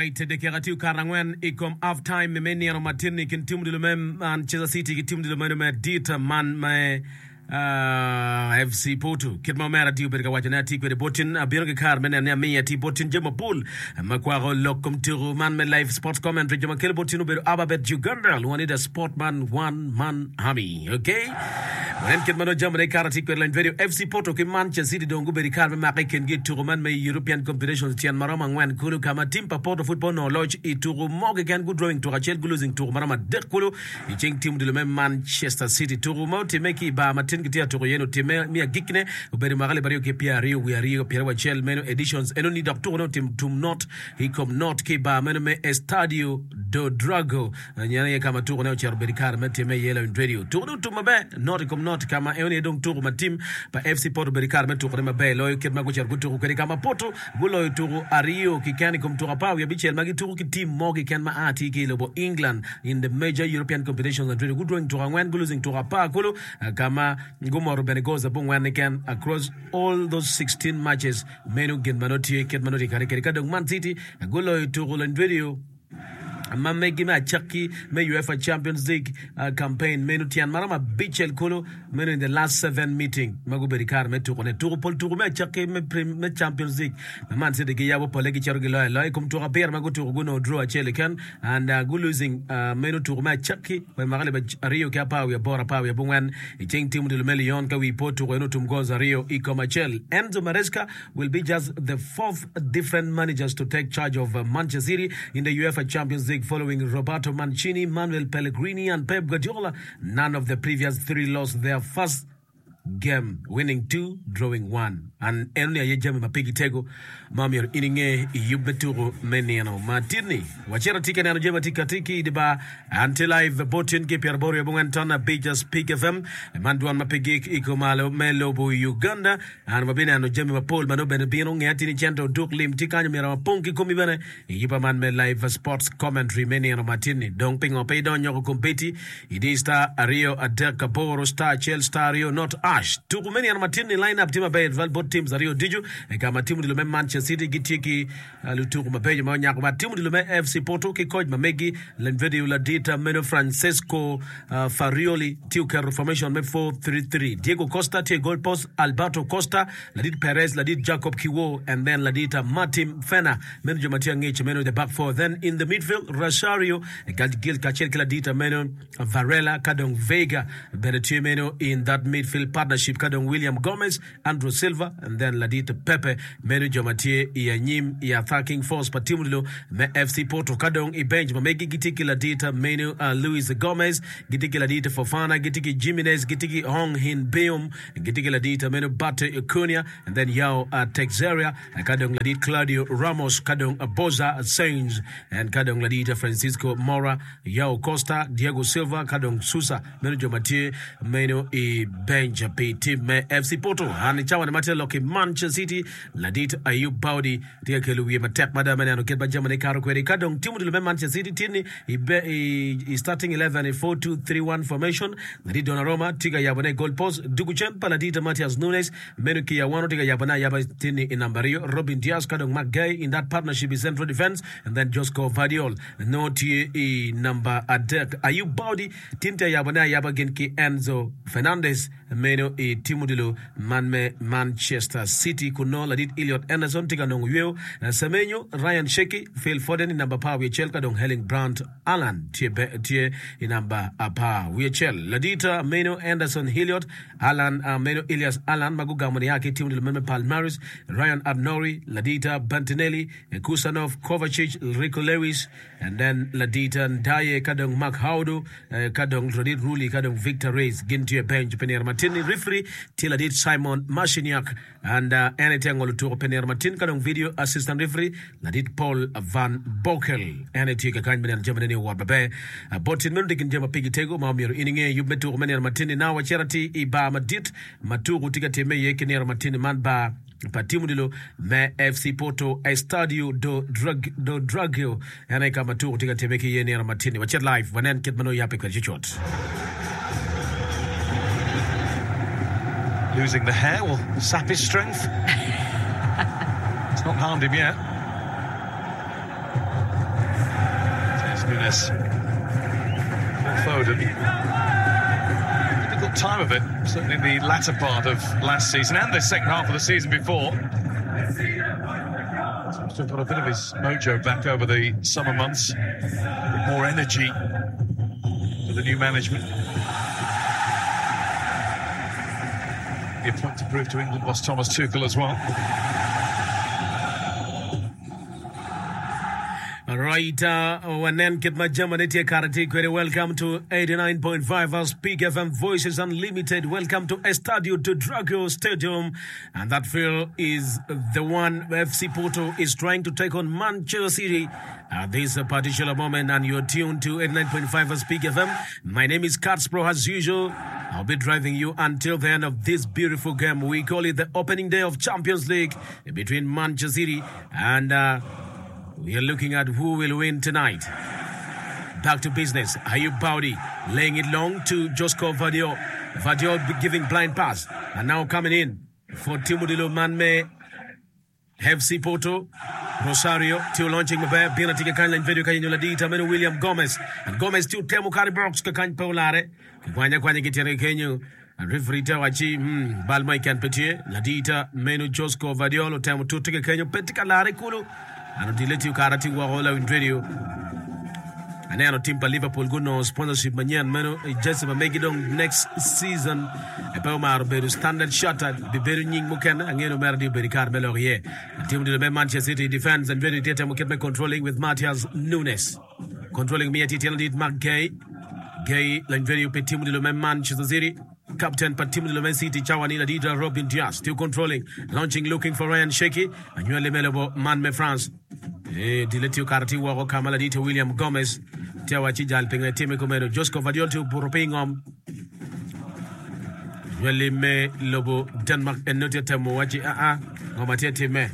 Alright, dakika tye okato angwen i kom half time me nino matin-ni i kin tim odilo me Manchester City ki tim odilo meno me adit man me FC Porto. Kit ma omera tye obedo ka wacone atye kwede botin, abino ki kare me neno ni amiyo atye botin jami mapol ma kwako lok kom tuku man me live sports commentary. Jo ma kelo botin obedo Ababet Uganda, lwongo ni The Sport Man One Man Army. Okay. Wanen kit ma nongo jamine kare tye kwede lony radio FC Porto ki Manchester City dong gubedo i kare me make i kingi i tuku man me European Competitions tyen ma romo angwen kulu ka ma tim pa Porto pud pe onongo loc i tuku mo keken gu drawing tuku acel gu losing tuku ma romo adek kulu i cing tim odilo me Manchester City. Tuku ma otimme ki i bar ma tin kitye ka tuko iye-ni otimme me agikkine obedo i mwaka alip aryo ki pyeraryo wiye aryo pyerabicel meno editions enoni dok tukune otim tum not i kom not ki i bar meno me Estadio do Drago en aye ka ma tukune ocito obedo i kare me timme iye lawiny radio. Tukune otum maber not i kom not ka ma enoni aye dong tuku ma tim pa FC Porto obedo i kare me tukune maber loyo kit ma gucito gutuku kwede ka ma Porto Guloyo tuku aryo kiken i kom tuku apar wiye abicel ma gituku ki tim mo kiken ma a tye ki i lobo England in the major European competitions and gudwong tuku angwen gulosing tuku apar kulu ka ma gumoto bene goals abongwen kiken across all those 16 matches. Meno gin ma nongo tye kit ma nongo tye kare kwede ka dong Man City guloyo tuku lony ma megi me acakki me UEFA Champions League campaign meno tyen maromo abicel kulu meno in the last seven meeting ma gubedo i kare me tukone. Tuku pol tuku me acakki me me Champions League ma Man City giyabo pole gicito giloyo aloya i kom tuku abiro ma gutuku gunongo draw acel keken and uh, gu losing uh, meno tuku me acakki wa i mwaka alip aryo ki apar wiye aboro apar wiye abongwen i ceng tim odilo me Lyon ka wi po tuku eno otum goals aryo i kom acel. Enzo Maresca will be just the fourth different managers to take charge of Manchester City in the UEFA Champions League following Roberto Mancini, Manuel Pellegrini and Pep Guardiola. None of the previous three lost their first game, winning two, drawing one. And enoni aye jami ma pigi tego ma myero in inge i yub me tuko me nino ma titni. Wacito atye ka neno jami ma tye kati ki i di bar. An tye live bot tyen ki pyeraboro wiye abongwen ton abic Speak FM. Man dwon ma pe gik i kumalo me lobo Uganda. An wabineno jami mapol ma nongo bene bino. Nge atir ni cente oduk lim tye kany omyero wapong ki komi bene i yubba man me live sports commentary me nino matin-ni. Dong pingo pe idony nyoko kombeddi idi star aryo adek aboro star acel star aryo not ash. Tuku me nino matin-ni line up tye maber tutwal bot teams aryo ducu. I ka ma tim odilo me Manchester City gitye ki Lutuku mabeco ma onyako bat tim odilo me FC Porto ki koc ma megi Lenvedio ladit meno Francesco Farioli tye oketo formation me 4-3-3. Diego Costa tye i goal post, Alberto Costa, ladit Perez, ladit Jacob Kiwor and then ladit Martim Fena meno jo ma tye angec meno the back four. Then in the midfield Rosario Gil kacel ki ladit meno Varela ka dong Veiga bene tye meno in that midfield partnership ka dong William Gomez Andrew Silva and then ladit Pepe meno jo ma tye i anyim i attacking force pa tim odilo me FC Porto. Ka dong i bench ma megi gitye ki ladit meno Luis Gomez, gitye ki ladit Fofana, gitye ki Jimenez, gitye ki Hong Hin Beom, gitye ki ladit meno Bate Cunha and then Yao Teixeira, ka dong ladit Claudio Ramos, ka dong Boza Sainz and ka dong ladit Francisco Moura, Yao Costa, Diego Silva ka dong Sousa. Meno jo ma tye meno i bench pi tim me FC Porto. An i cawa-ni ma tye lok i Manchester City, ladit Ayub Baudi tye ka kelo wiye matek mada me neno kit ma jamine kato kwede. Ka dong tim odilo me Manchester City tye ni i starting 11 i 4-2-3-1 formation, ladit Donnarumma tye ka yabone i goal post. Dugu cen pa ladit Matheus Nunes meno ki awano tye ka yabone ayaba tye ni i namba aryo, Robin Dias ka dong Marc Guehi in that partnership i central defence and then Josko Gvardiol nongo tye i namba adek. Ayub Baudi Tim tye ayabone ayaba gin ki Enzo Fernandez meno i tim odilo man me Manchester City kun nongo ladit Elliot Anderson tye ka nongo yweyo. Semenyo, Ryan Cherki, Phil Foden i namba apar wiye acel ka dong Erling Brandt Haaland tye i namba apar wiye acel. Ladit meno Anderson Elliot Haaland meno Ilias Haaland ma gugamo nia ki i tim odilo man me Palmares, Ryan Ait-Nouri, ladit Bertinelli, Khusanov, Kovacic, Rico Lewis, And then ladit Ndaye ka dong Mark Haudu ka dong ladit Ruli ka dong Victor Reis gin tye i bench pi nino matin ni referee tye ladit Simon Marciniak and en aye tye ka ngolo tuko pi nino matin ka dong video assistant referee ladit Paul Van Bokel en aye tye kakany me neno jamine ni owot maber. Bot tyen meno tye gin jami ma pigi tego ma omyero in inge yub me tuko me nino matin ni now wacito atir i bar madit ma tuko tye ka timme iye ki nino matin ni man bar pa tim odilo me FC Porto Estadio do Dragão en aye ka ma tuko tye ka timme ki iye nino matin-ni. Wacit live wanen kit ma nongo yabbe kwede cucut. Losing the hair will sap his strength. It's not harmed him yet. Matheus Nunes. Phil Foden. Difficult time of it, certainly in the latter part of last season and the second half of the season before. Seems to have got a bit of his mojo back over the summer months. More energy for the new management. The point to prove to England was Thomas Tuchel as well. Right, uh, wanen kit ma jamane tye kare tye kwede. Welcome to 89.5 uh, Speak FM Voices Unlimited. Welcome to Estadio do Dragão Stadium. And that field is the one FC Porto is trying to take on Manchester City at this particular moment. And you're tuned to 89.5 Speak FM. My name is Katspro as usual. I'll be driving you until the end of this beautiful game. We call it the opening day of Champions League between Manchester City and uh, we are looking at who will win tonight. Back to business. Ayub Bowdy laying it long to Josko Gvardiol. Gvardiol giving blind pass. And now coming in for Timothy Manme. FC Porto. Rosario tye launching maber. Bino tye kakany lany video kanyo ladita meno William Gomez. And Gomez tye otemo kare box kakany pe olare. Kikwanya kwanya ki tyene kenyo. Referee te wacci, hmm, bal mo keken pe tye. Ladita meno Josko Gvardiol otemo tute kekenyo, pe tye ka lare kulu. An odile tye okara tye woko lawiny radio. Aneno tim pa Liverpool gunongo sponsorship manyen meno i jersey ma megi dong next season pe omaro bedo Standard Chartered bibedo nying mukene. Angeyo ni omera di obedo i kare me lok iye. Tim odilo me Manchester City defense and radio tye temo kit me controlling with Matheus Nunes. Controlling miya tye tyen ladit Marc Guehi. Guehi lany radio pi tim odilo me Manchester City. Captain pa tim odilo me City cawa ni ladit Robin Dias tye controlling, launching looking for Ryan Cherki anywali me lobo man me France. Eh, dile tye okato tye woko ka ma ladit William Gomez tye awacci jal pingo etime kumeno. Josko Gvardiol tye obuto piny ngom. Anywali me lobo Denmark en nongo tye temo wacci aa ngo ma tye timme.